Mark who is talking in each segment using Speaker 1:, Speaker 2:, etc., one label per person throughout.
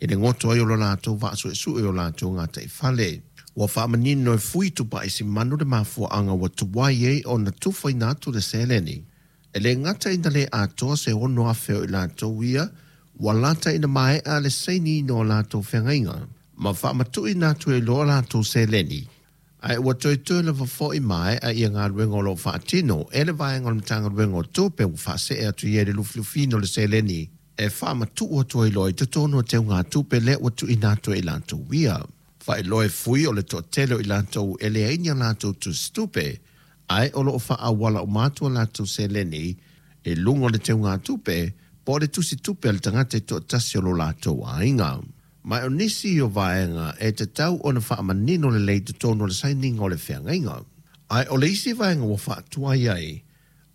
Speaker 1: i le goto ai o lo latou vaa suesue o latou gataifale. Ua faamanino e Fui Tupaisimanu le mafuaaga ua tuai ai ona tufaina atu le seleni. E le gata ina le atoa se 6,000 o i latou ia ua lata ina maea le sainiina o latou feagaiga ma faamatuuina atu ai loa latou seleni. Ae ua toetoe lava foi maea ia galuega o lo o faatino e le vaega o le Matagaluega o Tupe ua faasee atu i ai le lufilufiina o le seleni e faamatuu atu ai loa i totonu o teugatupe lea ua tuuina atu e i latou ia. Faailoa e Fui o le toatele o i latou e leai ni a latou tusitupe, ae o lo o faaauala uma atu a latou seleni i luga o le teugatupe po o le tusitupe a le tagata e toatasi o lo latou aiga. Ma o nisi o vaega e tatau ona faamanino lelei i totonu o le sainiga o le feagaiga. Ae o le isi vaega ua faatuai ai,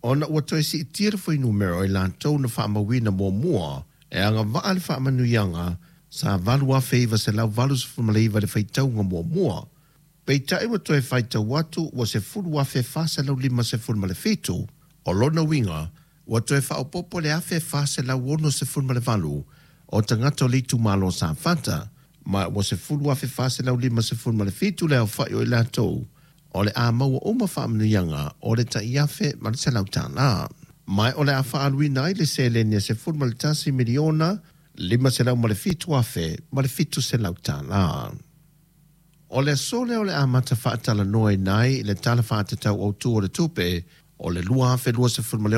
Speaker 1: ona ua toe siitia le fuainumera o i latou na faamauina muamua e agavaa le faamanuiaga sa 8,989 le faitauga muamua, peitai ua toe faitau atu ua 10,457, o lona uiga ua toe faaopoopo le 1,468 o tagata o le itumalo o Safata, ma ua 10,457 le aofai o i latou o le a maua uma faamanuiaga o le tai $1,100. Ma o le a faaaluina ai le seleni e $11 miliona $507,700. O le aso lea o le amata faatalanoaina ai le Tala Faatatau Autu o le Tupe o le 2026 ma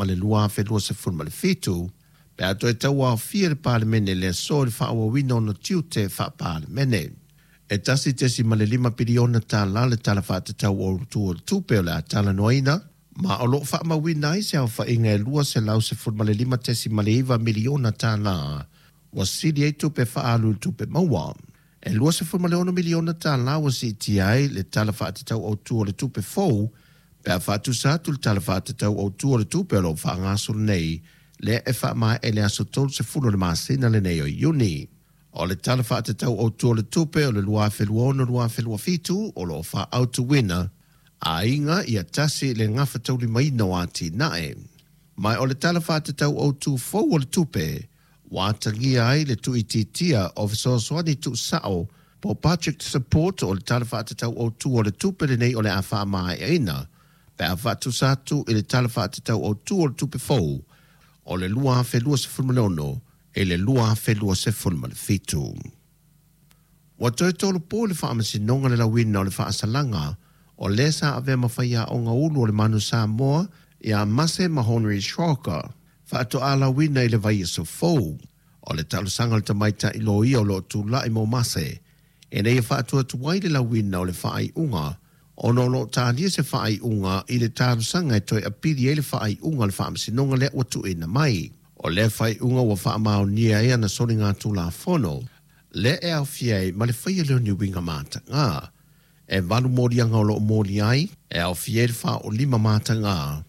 Speaker 1: le 2027, pe a toe tauaofia le Palemene i le aso i le faaauauina o ona tiute faa-Palemene. E $1.5 piliona le Tala Faatatau Autu o le Tupe o le a talanoaina, ma o lo o faamauina ai se aofaiga e $215.9 miliona ua sili ai tupe faaalu i tupe maua. E $26 miliona ua siitia ai le Tala Faatatau Autu o le Tupe fou pe a faatusa atu le Tala Faatatau Autu o le Tupe o lo o faagasolo nei lea e faamaea i le aso 30 o le masina lenei o Iuni. O le Tala Faatatau Autu o le Tupe o le 2026/2027 o lo o faaautuina aiga ia tasi le gafataulimaina o atinae. Ma o le Tala Faatatau Autu fou o le Tupe ua atagia ai le tuuitiitia o fesoasoani tuusao po budget support o le Tala Faatatau Autu o le Tupe lenei o le a faamaeaina pe a faatusa atu i le Tala Faatatau Autu o le Tupe fou o le 2026 i le 2027. Ua toe tolopo le faamasinoga le lauina o le faasalaga o lē sa avea ma faiaoga ulu o le Manu Samoa ia Mase Mahonri Shrocker faatoa lauina i le vaiaso fou. O le talosaga a le tamaitai loia o lo o tulai mo Mase ina ia faatuatuai le lauina o le faaiuga ona o lo o talia se faaiuga i le talosaga e toe apili ai le faaiuga o le faamasinoga lea ua tuuina mai. O lea faaiuga ua faamaonia ai ana soligatulafono lea e aofia ai ma le faia lea o ni uiga mataga. E 8 moliaga o lo o moli ai, e aofia ai le faaolima mataga,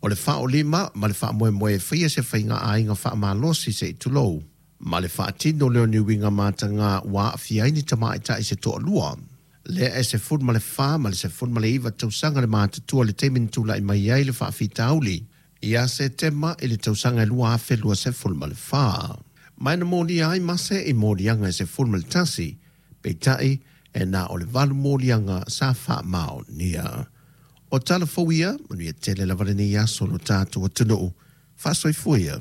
Speaker 1: o le faaolima ma le faamoemoe e faia se faiga aiga faamalosi se i tulou, ma le faatino lea o ni uiga mataga ua aafia ai ni tamaitai se toalua. Lea e 14 ma le 19 tausaga le matutua le taimi na tulai mai ai le faafitauli ia Setema i le tausaga e 2024. Ma na molia ai Mase i moliaga e 11, peitai e na o le 8 moliaga sa faamaonia. O tala fou ia, manuia tele lava lenei aso lo tatou atunuu. Faasoifua ia.